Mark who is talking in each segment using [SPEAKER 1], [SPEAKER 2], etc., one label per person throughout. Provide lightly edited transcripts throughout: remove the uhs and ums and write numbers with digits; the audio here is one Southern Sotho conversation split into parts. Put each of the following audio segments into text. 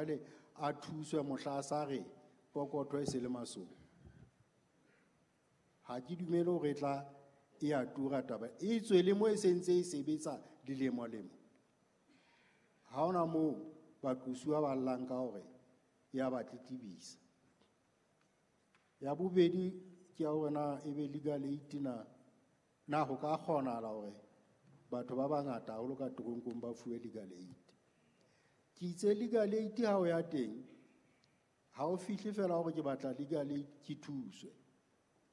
[SPEAKER 1] jwale a thuswe mohla a sa re pokotho e se le masoba. Ha ke dumele hore e tla e a tura taba e tswe le mo e sentse e sebetsa dilemo-lemo. Ha hona moo baqosuwa ba llang ka hore ya ba tletlebisa. Ya bobedi ke ya hore na ebe legal aid na ho ka kgonahala hore batho ba bangata haholo ka teronkong ba fuwe legal aid. Ke itse legal aid ha o ya teng, ha o fihle fela hore ke batla legal aid ke thuswe.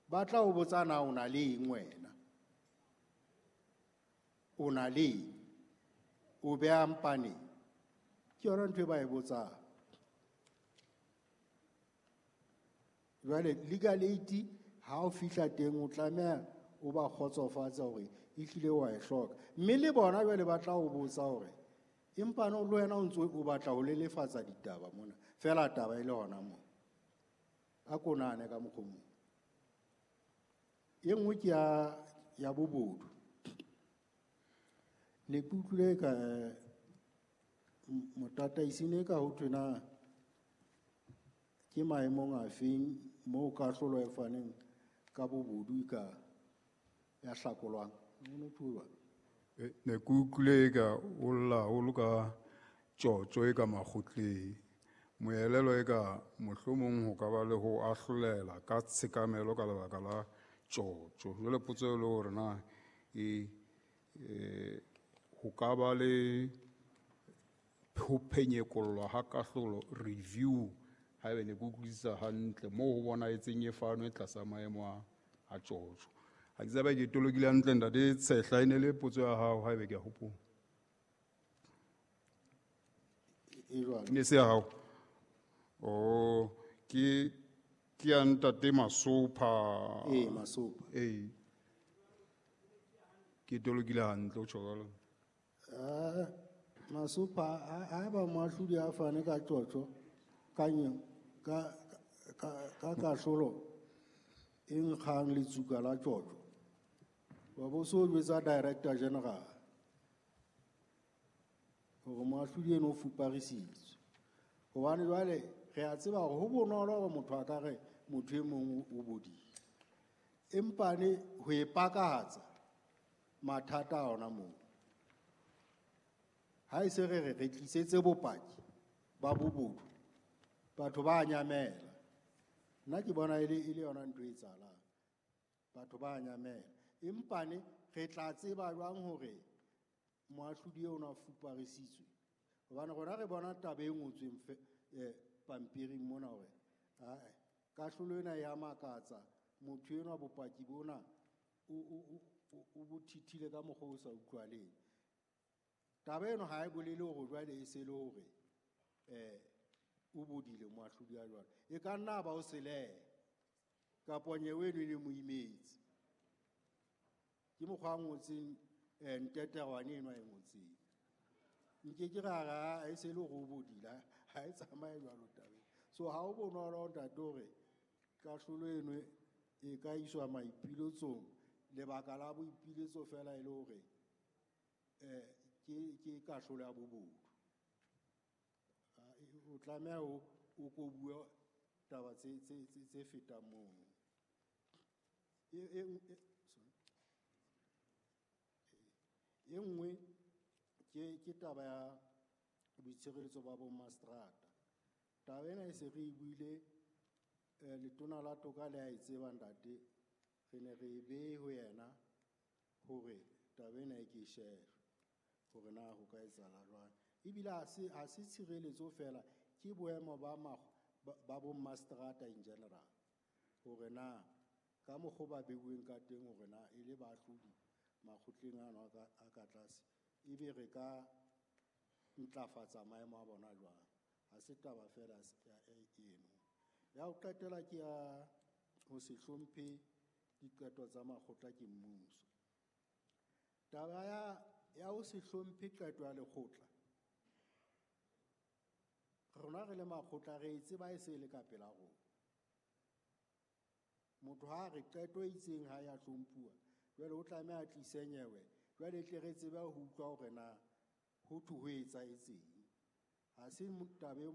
[SPEAKER 1] Ba tla o botsa na o na le eng wena? O na le eng? O beha mpaneng? Ke yona ntho e ba e botsang. Jwale legal aid ha o fihla teng o tlameha o ba kgotsofatse hore ehlile wa e hloka. Mme le bona jwale ba tla o botsa hore empa no le wena o ntso o batla ho lelefatsa ditaba mona, fela taba e le hona mona. A ko nahane ka mokgwa o mong. E nngwe ke ya bobodu. Ne ke utlwile ka motataisi ne ka ho thwe na ke maemong a feng moo kahlolo e faneng ka bobodu e ka ya hlakolwang? Ho no thwe jwang?
[SPEAKER 2] Ne ke utlwile ka o lla haholo ka tjotjo e ka makgotleng. Moelelo e ka mohlomong ho ka ba le ho ahlolela ka tshekamelo ka lebaka la tjotjo. Jwale potso e le hore na ho ka ba le ho phenyekollwa ha kahlolo, review, haebe ne ke utlwisisa hantle moo ho bonahetseng e fanwe tlasa maemo a tjotjo. Ha ke tsebe ke tolokile hantle ntate Tshehla, e ne le potso ya hao haebe ke a hopola.
[SPEAKER 1] E jwalo.
[SPEAKER 2] Ne se ya hao? Oh, ke ya ntate Masopha.
[SPEAKER 1] Ee, Masopha.
[SPEAKER 2] Ee. Ke tolokile hantle, o tjho jwalo.
[SPEAKER 1] Masopha, ha ba moahlodi a fane ka tjotjo, ka kahlolo e nkgang letsuka la tjotjo. Wa bo so jwetsa Director General hore moahlodi eno o fuparisitswe. Hobane jwale re a tseba hore ho bonolo hore motho a ka re motho e mong o bodile. Empa ne ho e pakahatsa mathata a ona moo. Ha e se re re re tlisetse bopaki ba bobodu, batho ba nyamela. Nna ke bona e le yona ntho e etsahalang. Batho ba nyamela. Empa ne re tla tseba jwang hore moahlodi eo o na fuparisitswe? Hobane rona re bona taba e ngotsweng pampiring mona hore, ae, kahlolo ena ya makatsa, motho enwa bopaki bona o bo thithile ka mokgwa o sa utlwaleng. Taba eno ha e bolele hore jwale e se le hore, o bodile moahlodi ya jwalo. E ka nna ba o selehe, kapa nyewe eno e ne mo imetse. Ke mokgwa a ngotseng, nteterwane eno a e ngotseng. Nke ke ra re, ha e se le hore o bodile, ha e tsamaye jwalo tabeng. So ha ho bonolo ntate hore kahlolo eno e ka iswa maipiletsong, lebaka la boipiletso fela e le hore, ke kahlolo ya bobodu. O tlameha o ko bue taba tse fetang mono. E nngwe ke taba ya boitshireletso ba bo mastrata. Taba ena e se re e buile, letona la toka le a e tseba ntate, re ne re e behe ho yena hore taba ena e ke e shebe hore na ho ka etsahala jwang. Ebile ha se tshireletso fela, ke boemo ba bo mastrata in general, hore na ka mokgwa ba beuweng ka teng hore na e le baahlodi makgotleng ano a ka tlase, ebe re ka ntlafatsa maemo a bona jwang. Ha se taba fela eno. Ya ho qetela ke ya ho se hlomphe diqeto tsa makgotla ke mmuso. Taba ya ho se hlomphe qeto ya lekgotla, rona re le makgotla re e tseba e se le ka pela rona. Motho ha re qeto e itseng ha ya hlomphuwa, jwale o tlameha a tlise nyewe, jwale tle re tsebe ho utlwa hore na ho thwe ho etsahetseng. Ha se taba e motho